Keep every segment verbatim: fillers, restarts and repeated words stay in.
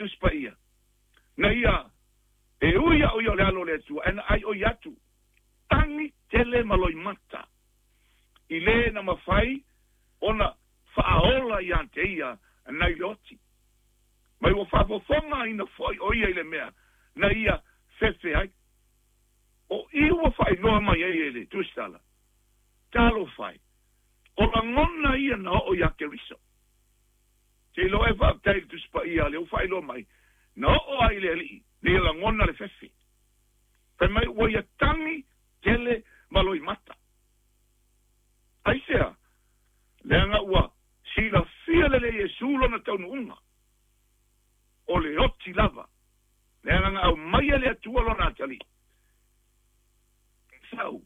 Tusi Paia na ia e ui au ia o le alo o le Atua e na ai o i atu tagi tele ma loimata i lē na mafai ona faaola iā te ia nai le oti mai ua faafofoga ina foʻi o ia i le mea na ia fefe ai o i ua faailoa mai ai e le tusitala talofa e o lagona ia na oo iā Keriso seiloa e faafetai i le Tusi Paia lea ua faailoa mai na oo ai le alii nei lagona le fefe fai mai ua ia tagi tele ma loimata aisea leaga ua silafia lelei Iesu lona taunuuga o le oti lava leaga na aumaia le Atua lona atalii sau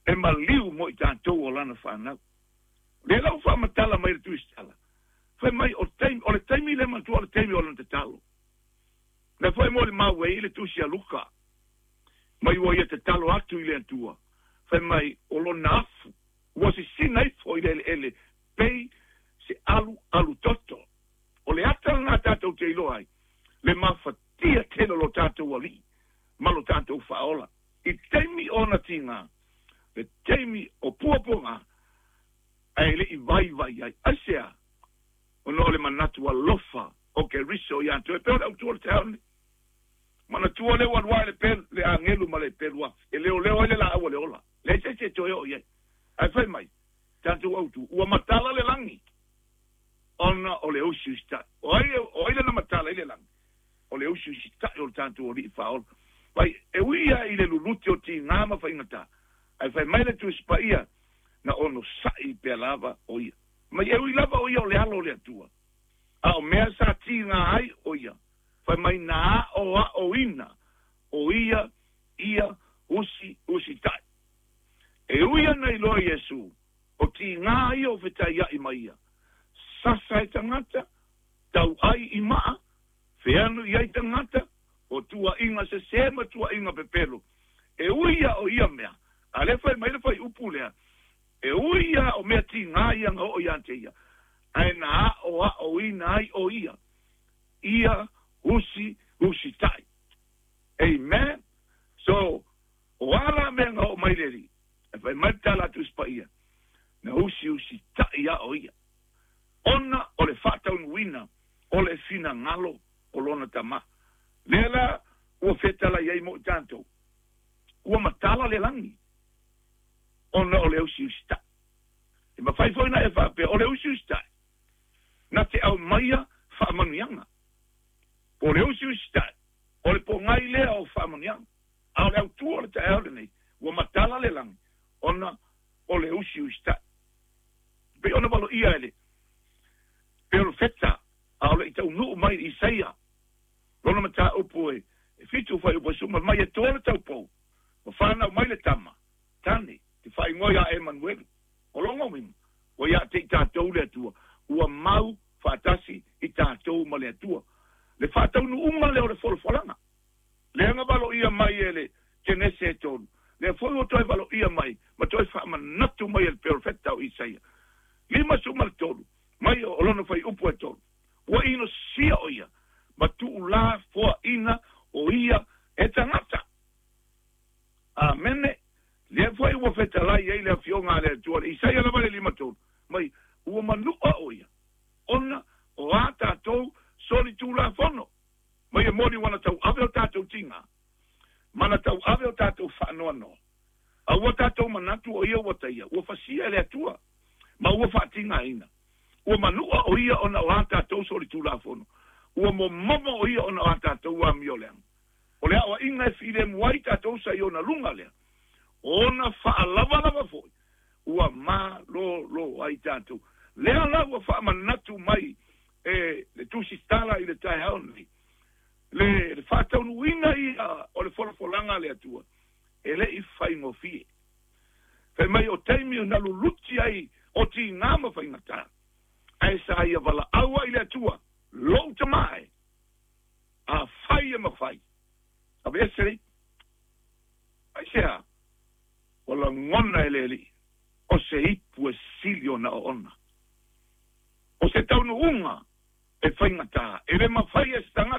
e maliu mo i tatou o lana fanau lea la ua faamatala mai le tusitala fai mai o taimi o le taimi le matua o le taimi o lona tatalo lea foi mo le mau ai le tusi a Luka mai ua ia tatalo atu i le Atua fai mai o lona afu ua sisina ifo i le eleele pei se alu alu toto o le ata lena tatou te iloa ai le mafatia tele o lo tatou alii ma lo tatou faaola i taimi ona tiga le taimi o puapuaga ae leʻi vaivai ai aisea ona o le manatu alofa o Keriso iā te oe pei o le autua o le taeao lenei manatua lea ua alu ae le pelu le agelu ma le pelu afi e leoleo ai le laau o le ola leai se isi e toe oo i ai ae fai mai tatou autu ua matala le lagi ona o le usiusitaʻi o ai o ai lana matala i le lagi o le usiusitaʻi o le tatou alii faaola vai e ui ia i le luluti o tigā ma faigatā ae fai mai le Tusi Paia na onosaʻi pea lava o ia mai e ui lava o ia o le alo o le Atua a o mea sa tigā ai o ia fai mai na aʻoaʻoina o ia ia usi usitaʻi e ui ana iloa Iesu o tigā ia o fetaiaʻi ma ia sasa e tagata tauʻai i maa feanu i ai tagata o tuuaiga sesē ma tuuaiga pepelo e ui ia o ia mea a lea fai mai le faiupu lea e ui ia o mea tigā ia na oo iā te ia ae na aʻoaʻoina ai o ia ia usi usitaʻi amen. So o a la mea na oo mai le alii e fai mai le tala a Tusi Paia na usiusitaʻi a o ia ona o le faataunuuina o le finagalo o lona tamā lea la ua fetalai ai mo i tatou ua matala le lagi ona o le usiusitaʻi e mafai foi na e faapea o le usiusitaʻi na te aumaia faamanuiaga po o le usiusitaʻi o le pogai lea o faamanuiaga a o le autua o le taeao lenei ua matala le lagi ona o le usiusitaʻi pei ona valoia e le perofeta a o le i taunuu mai i Isaia lona mataupu e fitu fuaiupu e suma mai e toa le taupou ma fanau mai le tama tane te faaigoa iā Emanuelu o lona uiga ua iā te i tatou le Atua ua mau faatasi i tatou ma le Atua le faataunuuga lea o le folafolaga lea na valoia mai e le Kenese e tolu lea foi ua toe valoia mai ma toe faamanatu mai e le perofeta o Isaia lima suma le tolu mai o lona fuaiupu e tolu ua inosia o ia ma tuulā foaʻina o ia e tagata amene lea foi ua fetalai ai le afioga a le Atua le Isaia lava le lima tolu mai ua manuʻa o ia ona o a tatou solitulafono mai e moni ua na tauave o tatou tigā ma na tauave o tatou faanoanoa a ua tatou manatu o ia ua taia ua fasia e le Atua ma ua faatigaina ua manuʻa o ia ona o a tatou solitulafono ua momomo o ia ona o a tatou amioleaga o le aʻoaʻiga e filemu ai tatou sa i ona luga lea ona faalavalava foi ua malōlō ai tatou lea la ua faamanatu mai e le tusitala i le taeao lenei le le faataunuuina ia o le folafolaga a le Atua e leʻi faigofie fai mai o taimi na luluti ai o tigā ma faigatā ae sa ia valaau ai le Atua lou tamā e afai e mafai aveese le